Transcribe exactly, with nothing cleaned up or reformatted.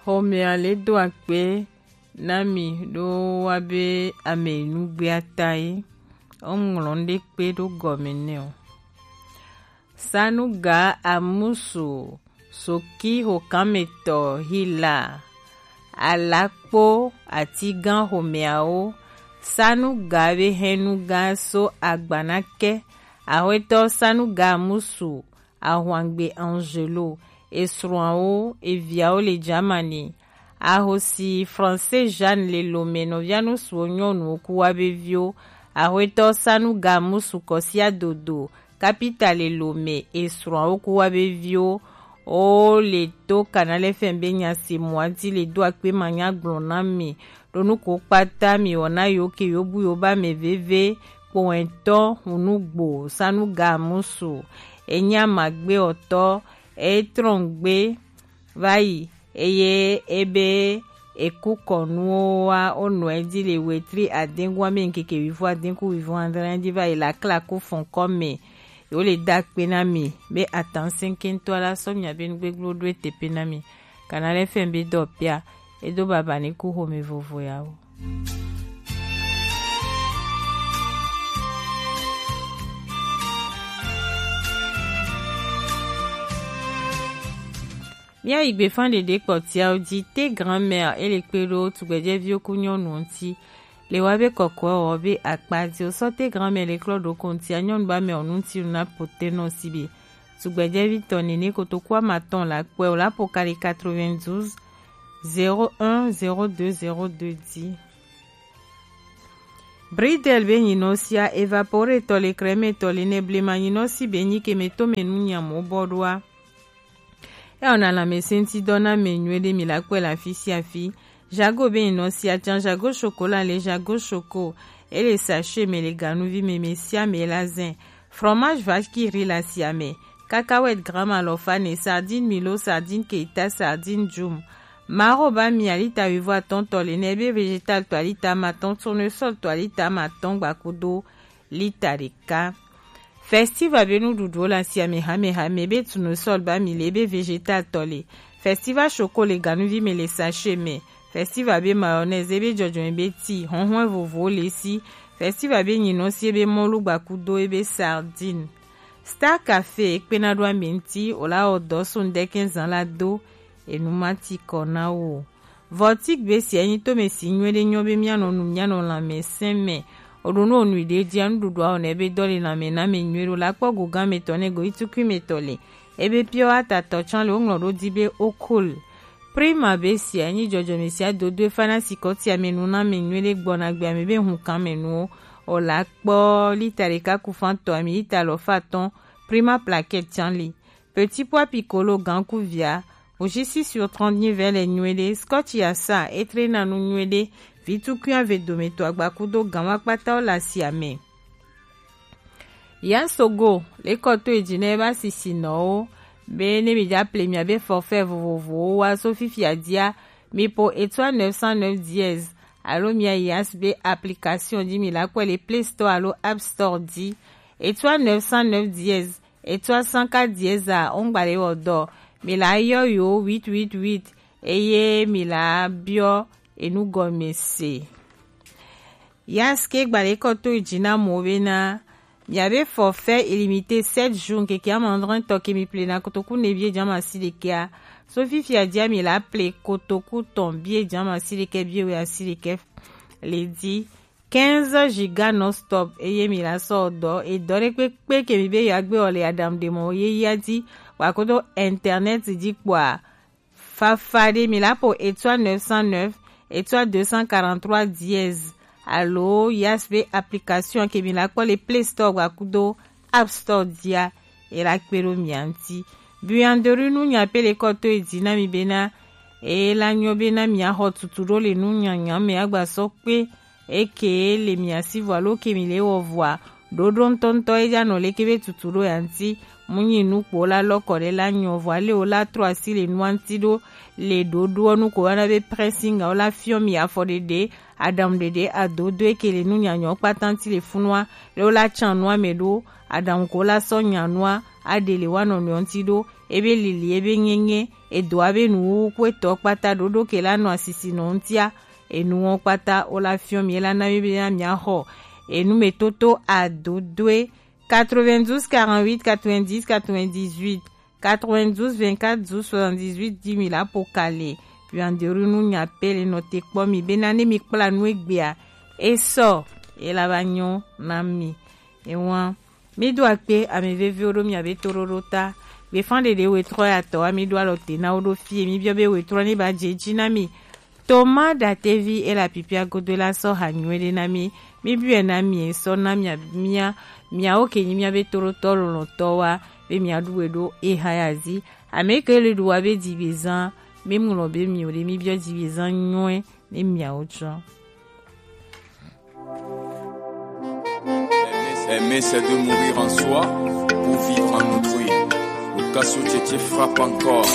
Xomɛa le do akpe na mi ɖo wa be ame yi nu gbea ta ye. Wo ŋlɔ nu ɖe kpe ɖo gɔme nɛ o. Sanuga Amusu, Soki xokanmetɔ, Hila, Alakpo, Atigan xomɛawo, Sanuga be hɛnuga so agbanakɛ, Axwetɔ Sanuga Amusu, Ahwangbe Angelo, esrɔ̃awo, eviawo le Germany. Ahosi Français Jeanne le Lome, nɔvia nusuwo nyɔnuwo ku wa be viwo. Axwetɔ Sanuga Musu Kɔsia Dodo, kapita le Lome, esrɔ̃awo ku wa be viwo. Wo le to Canal F M be nyasi mɔa di le do akpe manya gblɔ na mi. Ɖo nuko kpata mi wɔna yo ke yo bu yo ba me veve. Kpowɛntɔ Hunugbo Sanuga Musu, enya magbe ɔtɔ, e trɔn gbe va yi, eye ebe eku kɔnuwo wa wo nɔ edi le wetri adengu ame nkeke wivo adenku wivo andre di va yi la kla ku fɔn kɔ me. Yo le da kpe na mi be atan senkentɔ la sɔ mia be nugbegblɔ ɖo ete pe na mi. Kana le fɛn be dɔ pia, edo baba ni ku xome vovo ya wo. Míayi gbefan ɖeɖe kpɔtiawo dzi. Te grand-mère ele kpe ɖo tugbɛjɛviwo ku nyɔnuwo ŋuti. Le wa be kɔkɔɛ wɔ be akpa dzi o sɔ te grand-mère le klɔ ɖo kontia nyɔnu ba mɛ o ŋuti nu na potenɔ si be tugbɛjɛvi tɔ nene kotoku amatɔn la kpɔɛ o la po kali quatre-vingt-douze zéro un zéro deux zéro deux dzi. Bridel be nyinɔ sia evapore tɔ le krɛmɛ tɔ le ne blema nyinɔ si be nyi ke me to me nu nyamo bɔ ɖoa. Eya wòna lãmesẽŋutidɔ na ame nyuie ɖe mi la kpɔe le afi sia afi. Jago be nyinɔ sia tsã, Jago Chocolat le Jago Choco, ele sachet me le ganuvi me, me sia me la zẽ. Fromage vache qui rit le asia me. Cacahuète gramme alɔfa ene, sardine Milo, sardine Keita, sardine Jum. Maro ba mi alita wuivo atɔ̃ tɔ le nɛ, ebe végétal tɔ alita amatɔ̃, tournesol tɔ alita amatɔ̃ gbakudo lita ɖeka. Festival be nuɖuɖuwo le asia me hame hame, be tournesol ba mi le, be végétal tɔ le. Festival Choco le ganuvi me le sachet me. Festival be mayonnaise, ebe jɔjɔme be ti, hɔnhɔn vovovowo le si. Festival be nyinɔ si, ebe mɔlu gbakudo, ebe sardine. Star Café ekpena ɖo ame ŋuti, wòla wɔ dɔ so ŋdɛkɛ zan la do, enu ma ti kɔ na wo. Vɔtik be sia nyi tome si nyuie ɖe nyɔ be míanɔ nu, míanɔ lãmesẽ me. Oɖo nu onui ɖe dzia nuɖuɖua o ne be dɔ le lãme na me nyuie ɖo la kpɔ go gã me tɔ ne go itukui me tɔ le. Ebe piɔ atatɔ tsã le woŋlɔ ɖo di be okol. Prima be sia nyi jɔjɔme sia dodo efa na sikɔtia me nu na me nyuie ɖe gbɔna gbea me be hunkan me nuwo. O la kpɔ lita ɖeka ku fan tɔ ami lita alɔfa atɔ̃. Prima plaquette tsã li. Petit pois piccolo gan ku via, ojisi sur trente nyi vɛ le nyuie ɖe, scotch yasa etre na nu nyuie ɖe, vitukui ave dome to agbakudo gan wa kpata wo le asia me. Yasogo le kɔ to edzi ne ebe asisinɔwo be ne mi dza ple mia be forfait vovovowo wa so fifia dzia, mi po étoile neuf cent neuf dièse alo mia Yas be application dzi mi la kpɔe le Play Store alo App Store dzi. Étoile neuf cent neuf dièse, étoile cent quatre dièse a, wongba le wɔ dɔ. Mi la yɔ yo huit huit huit eye mi la biɔ enu gɔme se. Yas ke gba le kɔ to dzi na mo be na mia be forfait illimité sept jours keke amandrɔn tɔ ke mi ple na kotoku ne vie dzama si ɖekea. So fifia dzia mi la ple kotoku tɔn bie dzama si ɖekɛ bie wɛ asi ɖekɛ le di. Quinze giga non-stop eye mi la sɔ dɔ edɔ ɖe kpekpe ke mi be yewoagbe wɔ le aɖaŋuɖemɔ yeyea dzi, kpakodo internet dzi kpɔa. Fafa ɖe mi la po étoile neuf cent neuf, étoile deux cent quarante-trois dièse alo Yas be application ke mi la kpɔ le Play Store gbakudo App Store dzia, e la kpe ɖo mia ŋuti. Buanderie nu nya pe le kɔ to edzi na mi bena e la nyɔ bena mia xɔ tutu ɖo le nu nyanya me agba sɔ kpe eke le mia si vɔ alo ke mi le wɔ vɔa. Ɖoɖo ŋutɔŋutɔ e dza nɔ leke be tutu ɖo ya ŋuti. Mu nyi nu kpo la lɔ kɔ ɖe la nyɔ vɔ ale wo la trɔ asi le nua ŋuti ɖo le ɖoɖoɔ nu ko wana be pressing o la fiɔ mi afɔ ɖeɖe aɖaŋu ɖeɖe adodo eke le nu nyanyɔ kpata ŋuti le funua le wo la tsan nua me ɖo aɖaŋu ko la sɔ nya nua aɖe le wa nɔnɔewo ŋuti ɖo ebe lili, ebe ŋeŋe, edo abe nuwuwu ku etɔ kpata ɖoɖo ke la nɔ asisi nɔ ŋutia. Enu wɔn kpata wo la fiɔ mi, ela na mi be na mia xɔ enu me toto adodoe. Quatre-vingt-douze quarante-huit quatre-vingt-dix quatre-vingt-dix-huit, quatre-vingt-douze vingt-quatre douze soixante-dix-huit dix mille apo kale. Puis en dehors nu nya pele nɔ te kpɔ mi be na ne mi kpla nu egbea, esɔ ela ba nyɔ na mi. Ewan, mi do akpe ame veviwo ɖo miabe toɖoɖo ta. Gbefan ɖeɖe wetrɔ ya tɔ wa mi ɖo alɔ te na wo ɖo fie, mi biɔ be wetrɔ ne ba dze dzi na mi. Toma ɖatevi e la pipia godo la sɔ ha nyuie ɖe na mi. Mi biɔe na mi e sɔ na mia mia miawo ke nyi miabe toɖotɔ lɔlɔtɔ wa be mia ɖu we ɖo e ha ya zi. Ame ke le ɖu wa be dzigbezan, mi ŋlɔ be mi o ɖe, mi biɔ dzigbezan nyuie ne miawo tsɔ. Aimer, c'est de mourir en soi pour vivre en autrui. Lucas Tchetché frappe encore.